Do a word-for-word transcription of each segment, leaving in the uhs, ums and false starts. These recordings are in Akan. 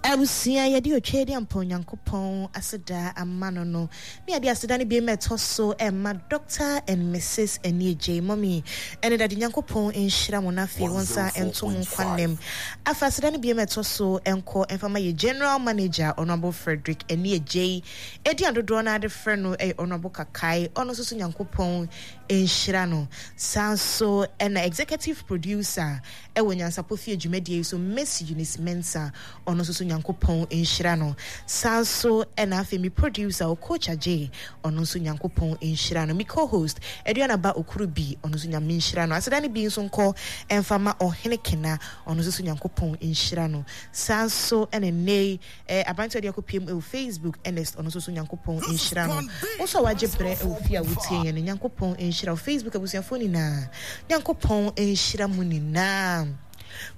Abusua, yɛde otwa de ampa Onyankopɔn aseda ama no no ne yɛde aseda no bi ma ɛtɔ so ɛma Doctor and Missus Aniegye Mɔmi ɛne Dade. Nyankopɔn nhyira mo na afei wɔn nsa nto mo nkwa nnam. Afa aseda no bi ma ɛtɔ so ɛnkɔ ɛmfa ma yɛ General Manager, Honorable Frederick Aniegye, edi adodoɔ no ade frɛ no ɛyɛ Honorable Kakai. Ɔno nso so Nyankopɔn nhyira no. Saa nso ɛna Executive Producer ɛwɔ Nyansapɔ Fie dwumadie yi so, Miss Eunice Mensah, ɔno nso so Nyankopɔn nhyira no. Saa nso ɛna afei mi producer, Coach Agye, ɔno nso Nyankopɔn nhyira no. Mi co-host, Aduana Ba Okuru bi, ɔno nso Nyame nhyira no. Aseda no bi nso nkɔ ɛmfa ma Ɔhene Kena, ɔno nso so Nyankopɔn nhyira no. Saa nso ɛna nnɛ eh, aberanteɛ ɔde akɔpiem ɛwɔ Facebook, Ernest, ɔno nso so Nyankopɔn nhyira no. Wo nso a wagye berɛ ɛwɔ fie a wotie yɛn no, Nyankopɔn nhyira wo. Facebook abusuafoɔ nyinaa, Nyankopɔn nhyira mu nyinaa.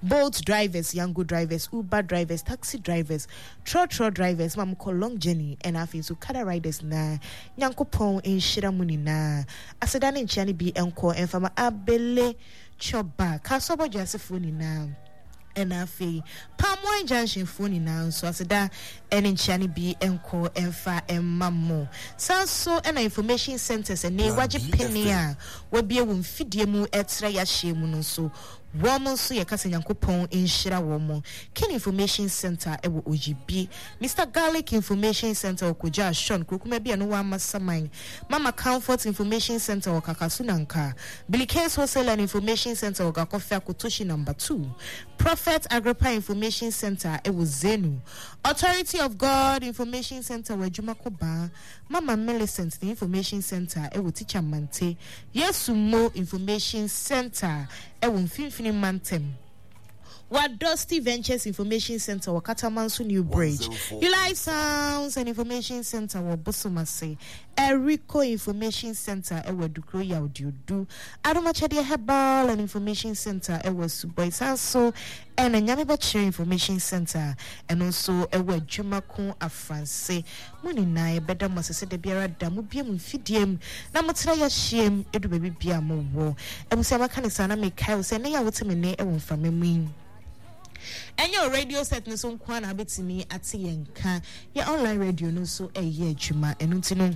Bolt drivers, Yango drivers, Uber drivers, taxi drivers, trɔtrɔ drivers ma mokɔ long journey, ɛna afei nso kada riders na Nyankopɔn nhyira mu nyinaa. Aseda ne nkyea no bi nkɔ ɛmfama Abele Chɔba Kasɔbɔ dwasefoɔ nyinaa, ɛna afei Palm Wine Junction foɔ nyinaa nso, aseda ɛne nkyea no bi nkɔ ɛmfa ɛma mo. Saa nso ɛna information centers ɛne wagye pene a wabie wɔn mfidie mu ɛtrɛ yɛahyɛ mu no nso, wɔn nso yɛka sɛ Nyankopɔn nhyira wɔn mo. Kin Information Center ɛwɔ Oyibi, Mister Garlic Information Center wɔ Kogya Ashon kurokuma bi a ɛno wɔ Amasaman, Mama Comfort Information Center wɔ Kakasu Nanka, Billy Case Wholesale and Information Center wɔ Gakɔfɛ Akotoshi Number two, Prophet Agrippa Information Center ɛwɔ Zenu, Authority of God Information Center wɔ Adwumakobaa, Mama Millicent the Information Center ɛwɔ Teacher Mante, Yesu Mo Information Center ɛwɔ Mfimfini Mantem, Wadosty Ventures Information Center wɔ Katamanso New Bridge, Eli Sounds and Information Center wɔ Bosomase, Eriko Information Center ɛwɔ Adukuro Yawdiodu, Adomakyɛdeɛ Herbal and Information Center ɛwɔ Suboi Sanso, ɛna Nyame Bɛkyerɛ Information Center ɛno nso ɛwɔ Adwumako Afranse. Mo nyinaa yɛbɛda mo ase sɛ da biara da mo bie mu mfidie mu na motena yɛahyia mu ɛdu baabi bia mowɔ. Abusua, maka ne saa na mekae wo sɛ ɛnɛ yɛ a wote me nne ɛwɔ mframa mu yi, ɛnyɛ o radio set no so nko a na wobɛtumi ate yɛn nka. Yɛ online radio no nso ɛyɛ adwuma. Ɛno nti no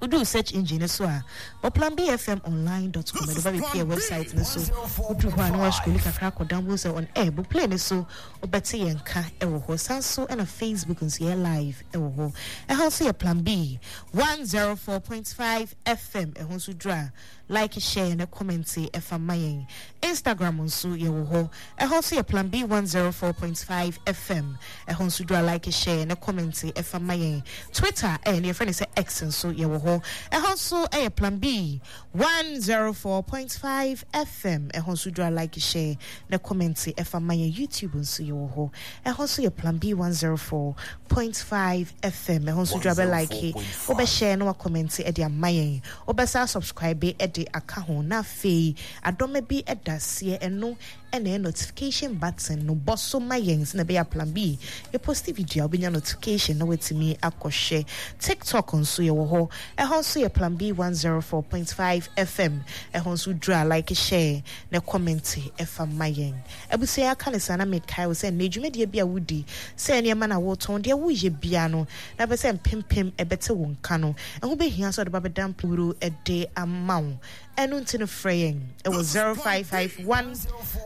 woduu search engine no so a, bɔ plan B F M online dot com, ɛde ba bɛpie website no so. Woduru hɔ a na wascrolli kakra akɔda ho sɛ on air bo play no so, wobɛte yɛn nka ɛwɔ hɔ. San so ɛna Facebook nso yɛ live ɛwɔ hɔ. Ɛhɔ nso yɛ Plan B one oh four point five F M. Ɛho nso duru a, like, share ne comment ɛfa ma yɛn. Instagram nso yɛwɔ hɔ. Ɛhɔ nso yɛ Plan B one oh four point five F M. Ɛhɔ nso duru a, like, share ne comment ɛfa ma yɛn. Twitter ɛyɛ ne yɛfrɛ no sɛ X nso yɛwɔ hɔ. Ɛhɔ nso ɛyɛ Plan B one oh four point five F M. Ɛhɔ nso duru a, like, share ne comment ɛfa ma yɛn. YouTube nso yɛwɔ hɔ. Ɛhɔ nso yɛ Plan B one oh four point five F M. Ɛhɔ nso duru a, bɛ like, wobɛhyɛ na wacomment ɛde ama yɛn, wobɛsa subscribe ɛde aka ho, na afei adɔma bi ɛda aseɛ, ɛno ɛna ɛyɛ notification button no. Bɔ so ma yɛn sɛ na ɛbɛyɛ Plan B yɛpost video a, wobɛnya notification na watumi akɔhwɛ. TikTok nso yɛwɔ hɔ. Ɛhɔ nso yɛ Plan B one oh four point five F M. Ɛhɔ nso duru a, like, share na comment ɛfa ma yɛn. Abusua, aka ne saa na mekae wo sɛ nnɛ dwumadie bi a wodi sɛ nneɛma na wotɔn deɛ woyɛ bia no na bɛ sɛ mpempem ɛbɛte wo nka no, ɛho bɛhia sɛ ɔde ba bɛda mpowuro ɛde ama wo. Ɛno nti no frɛ yɛn ɛwɔ zero five five one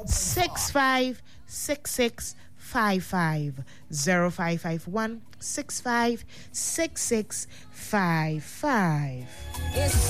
six five six six five five, zero five five one six five six six five five.